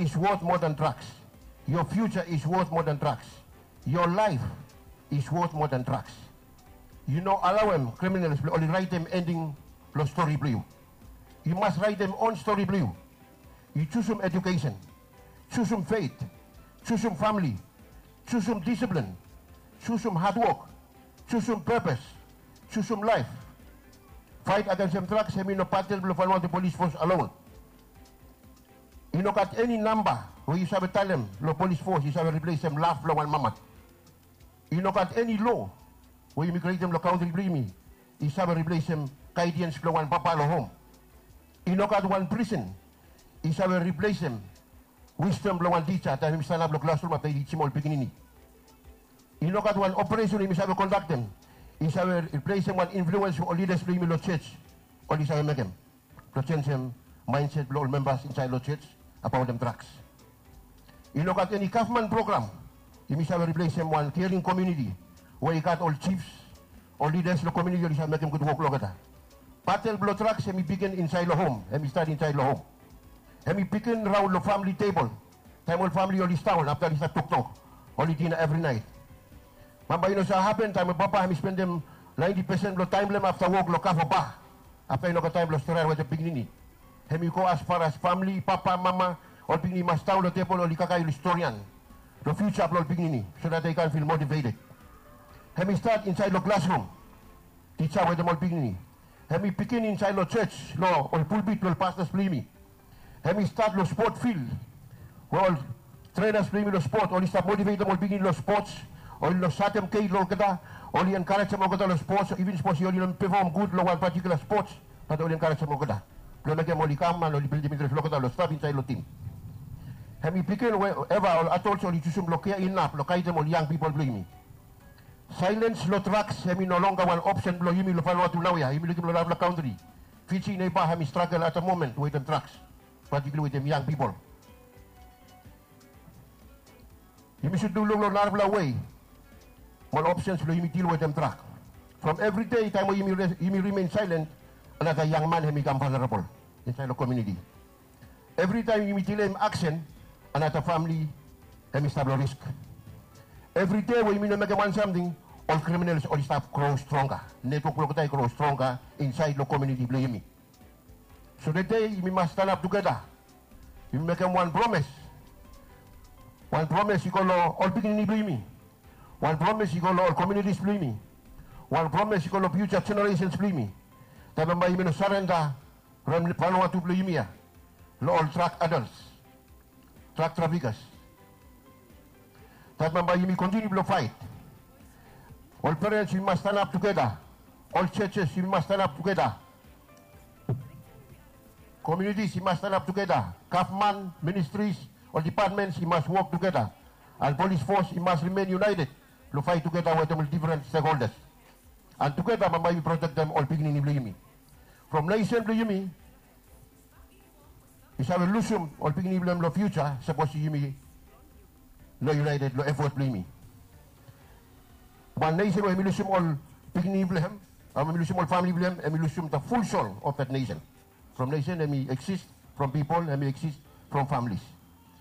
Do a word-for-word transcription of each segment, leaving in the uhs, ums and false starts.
is worth more than drugs. Your future is worth more than drugs. Your life is worth more than drugs. Yu no alaoem criminals blong oli raetem ending blong stori blong yu. Yu mas raetem on stori blong yu. Yu jusum education, jusum faith, jusum famili, jusum disiplin, jusum hadwok, jusum pepes, jusum laef. Faet agensem drugs hemi no batel blong Vanuatu Polis Fos alon. I no gat eni namba we yu save talem long polis fos i save riplesem laf blong wan mama. I no gat eni loa we yumi krietem long kantri blong yumi i save riplesem gaediens blong wan papa long hom. I no gat wan prisen i save riplesem wisdom blong wan tija taem hemi stanap long klasrum afta i tijim ol pikinini. I no gat wan operesen yumi save kondaktem i save riplesem wan influens we ol lidas blong yumi long jos oli save mekem blong jenjem maenset blong ol membas insaed long jos abaotem drugs. I no gat eni gavman program yumi save riplesem wan kering komuniti we i gat ol jifs, ol lidas long komuniti oli save mekem gud wok long olgeta. Batel blong drugs hemi bigin insaed long hom, hemi stat insaed long hom. Hemi bigin raon long famili tebol taem ol famili oli sitdaon afta oli stap toktok, oli dina evri naet. Bambae i no save hapen taem ol papa hemi spendem naenti pesen blong taem blong hem afta wok long kava ba. Afta i no gat taem blong stereaot wetem pikinini. Hemi go as far as famili, papa, mama, ol pikinini i mas daon long tebol oli kakae oli storian long fiuja blong ol pikinini so that they can feel motivated. Hemi stat insaed long klasrum, tija wetem ol pikinini. Hemi bigin insaed long jos, long ol pulpit blong ol pastas blong yumi. Hemi stat long spot fil we ol trenas blong yumi long spot oli stap motivetem ol pikinini long spots, oli no satem gei long olgeta, oli enkarejem olgeta long spots, iven sapos oli no pefom gud long wan patikula spots, bat oli enkarejem olgeta blong mekem oli kam an oli bildim intres long olgeta long stap insaed long tim. Hemi bigin we eva ol adols oli jusum long kea inap long gaedem ol yang pipol blong yumi. Saelens long drugs hemi no longer wan opsen blong yumi long Vanuatu naoia. Yumi lukim long narafala kantri, Fiji neiba hemi stragel at the moment wetem drugs, patikula wetem yang pipol. Yumi sud lukluk long narafala wei mo ol opsens blong yumi dil wetem drag. From evri dei taem we yumi rimen saelen, another yang man hemi kam vanerabol insaed long komuniti. Evri taem yumi dileim aksen, another famili hemi stap long risk. Evri dei we yumi no mekem wan samting, ol kriminals oli stap gro stronga. Netwok blong olgeta i gro stronga insaed long komuniti blong yumi. So tede yumi mas stanap tugeta. Yumi mekem wan promes. Wan promes i go long ol pikinini blong yumi. Wan promes i go long ol komunitis blong yumi. Wan promes i go long fiuja jeneresens blong yumi. Taem bambae yumi no sarenda from Vanuatu blong yumi ya long ol drag adols, drag trafikas. Taem bambae yumi kontiniu blong faet. Ol perens yumi mas stanap tugeta. Ol jojes yumi mas stanap tugeta. Komunitis i mas stanap tugeta. Gavman, ministris, ol dipatmens i mas wok tugeta. An polis fos i mas rimen yunaeted blong faet tugeta wetem ol difren stekholdas. An tugeta bambae yumi protektem ol pikinini blong yumi. From nesen blong yumi i save lusum ol pikinini blong hem long fiuja sapos yumi no yunaeted long efot blong yumi. Wan nesen we hemi lusum ol pikinini blong hem, hemi lusum ol famili blong hem, hemi lusum the full soul of that nation. From nesen hemi eksis from pipol, hemi eksis from familis.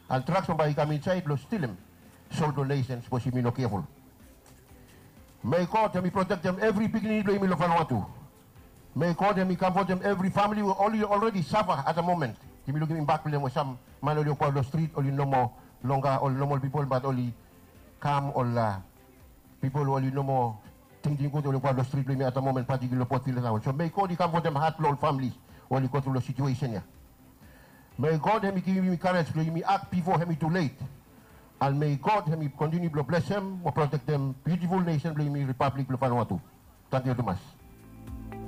An drugs bambae i kam insaed blong stilem soul blong nesen sapos yumi no keful. May God hemi protektem evri pikinini blong yumi long Vanuatu. May God hemi kamfotem evri famili we oli already safa at the moment. Yumi lukim impact blong hem we sam man oli wokbaot long strit oli no moa longa ol nomol pipol bat oli kam ol pipol we oli no moa tingting gud oli wokbaot long strit blong yumi at the moment, patikula long Port Vila taon. So may God i kamfotem hat blong ol familis we oli gotru long situesen ya. May God hemi givim yumi karej blong yumi ak bifo hemi tulet. An may God hemi kontiniu blong blesem mo protektem biutiful nesen blong yumi, ripablik blong Vanuatu. Tangkiu tumas.